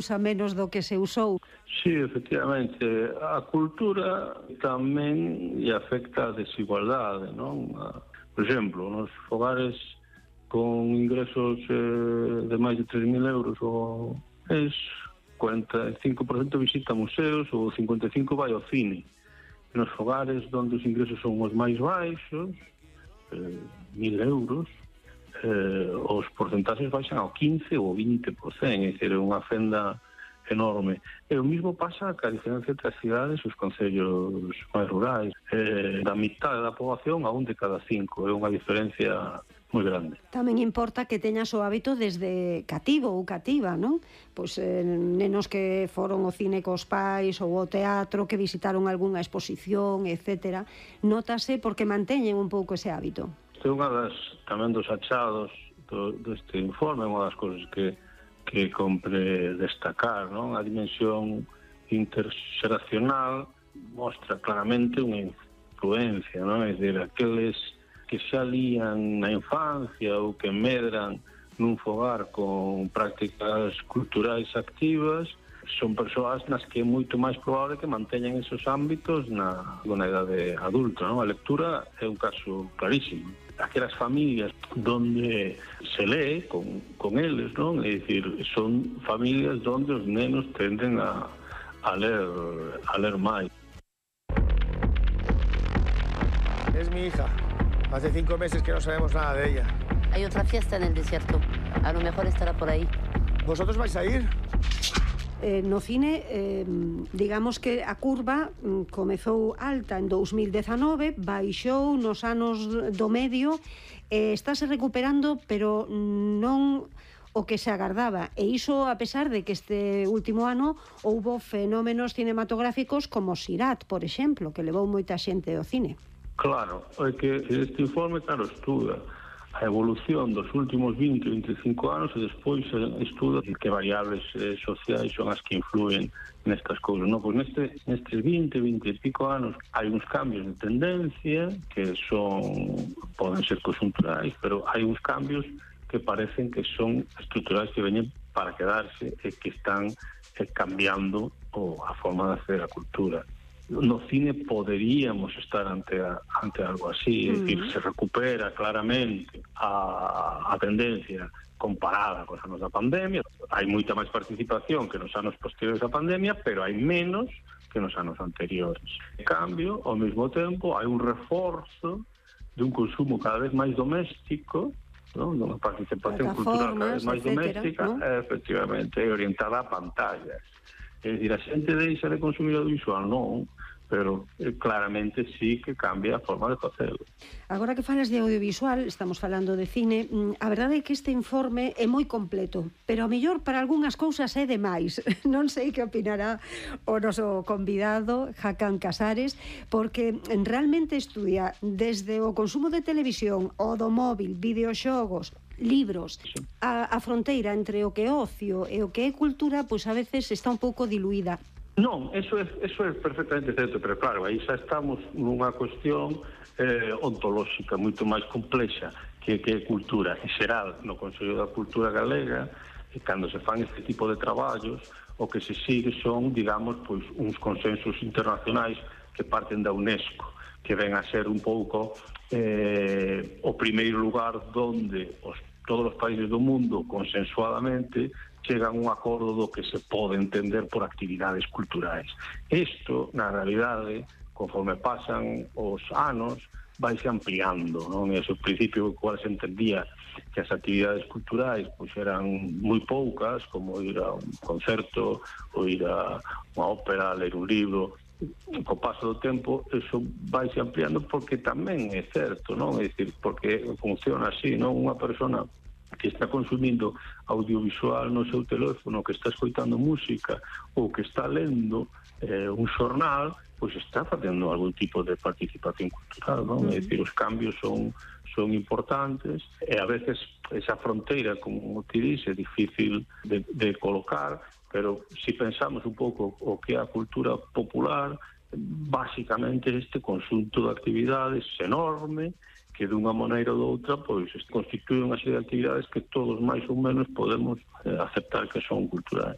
usa menos do que se usou. Sí, efectivamente, a cultura tamén lle afecta a desigualdade, non? Por exemplo, nos fogares con ingresos de máis de 3.000 euros o mês, 45% visita museos ou 55% vai ao cine. Nos fogares onde os ingresos son os máis baixos, 1.000 euros, os porcentaxes baixan ao 15 ou 20%, é dicir, é unha fenda enorme. E o mismo pasa ca diferencia entre as cidades e os concellos máis rurais. Da mitad da poboación a un de cada 5, é unha diferencia moi grande. Tamén importa que teñas o hábito desde cativo ou cativa, non? Pois nenos que foron ao cine cos pais ou ao teatro, que visitaron algunha exposición, etc. Nótase porque manteñen un pouco ese hábito. Isto é unha das, tamén dos achados deste informe, unha das cousas que compre destacar, non? A dimensión interxeracional mostra claramente unha influencia, non? É dicir, aqueles que xa lían na infancia ou que medran nun fogar con prácticas culturais activas son persoas nas que é moito máis probable que manteñan esos ámbitos na idade adulta, non? A lectura é un caso clarísimo. Aquelas familias donde se lee con eles, non? É dicir, son familias donde os nenos tenden a ler máis. Es mi hija. Hace 5 meses que no sabemos nada de ella. Hay otra fiesta en el desierto. A lo mejor estará por ahí. ¿Vosotros vais a ir? No cine, digamos que a curva comezou alta en 2019, baixou nos anos do medio, estáse recuperando, pero non o que se agardaba. E iso a pesar de que este último ano houbo fenómenos cinematográficos como Sirat, por exemplo, que levou moita xente ao cine. Claro, é que este informe, claro, estuda a evolución dos últimos 20 ou 25 anos e despois estuda que variables sociais son as que influen nestas cousas, non? Pois nestes 20 e pico anos hai uns cambios de tendencia que poden ser conjunturais, pero hai uns cambios que parecen que son estruturais, que veñen para quedarse e que están cambiando a forma de hacer a cultura. No cine poderíamos estar ante algo así, é dicir, se recupera claramente a tendencia comparada cos anos da pandemia. Hai moita máis participación que nos anos posteriores á pandemia, pero hai menos que nos anos anteriores. En cambio, ao mesmo tempo, hai un reforzo de un consumo cada vez máis doméstico, non? Unha participación cultural cada vez máis doméstica, ¿no? Efectivamente, orientada a pantallas. É dicir, a xente deixa de consumir audiovisual, non, pero claramente sí que cambia a forma de facelo. Agora que falas de audiovisual, estamos falando de cine, a verdade é que este informe é moi completo, pero a mellor para algunhas cousas é demais. Non sei que opinará o noso convidado, Hakan Casares, porque realmente estudia desde o consumo de televisión, o do móvil, videoxogos, libros, a fronteira entre o que é ocio e o que é cultura, pois a veces está un pouco diluída. Non, eso é perfectamente certo, pero claro, aí xa estamos nunha cuestión ontolóxica moito máis complexa que é cultura. En xeral, no Consello da Cultura Galega, cando se fan este tipo de traballos, o que se sigue son, digamos, pois uns consensos internacionais que parten da UNESCO, que ven a ser un pouco o primeiro lugar donde todos os países do mundo consensuadamente chegan a un acordo do que se pode entender por actividades culturais. Isto, na realidade, conforme pasan os anos, vaise ampliando, non? Ese principio cual se entendía que as actividades culturais pois eran moi poucas, como ir a un concerto ou ir a unha ópera, ler un libro. Co paso do tempo, eso vaise ampliando porque tamén é certo, non? É dicir, porque funciona así, non? Unha persona que está consumindo audiovisual no seu teléfono, que está escoitando música ou que está lendo un xornal, pois está facendo algún tipo de participación cultural, non? É dicir, os cambios son importantes e a veces esa fronteira, como te dice, é difícil de colocar, pero se pensamos un pouco o que é a cultura popular, básicamente este conxunto de actividades enorme que dunha maneira ou doutra pois constituen unha serie de actividades que todos máis ou menos podemos aceptar que son culturais.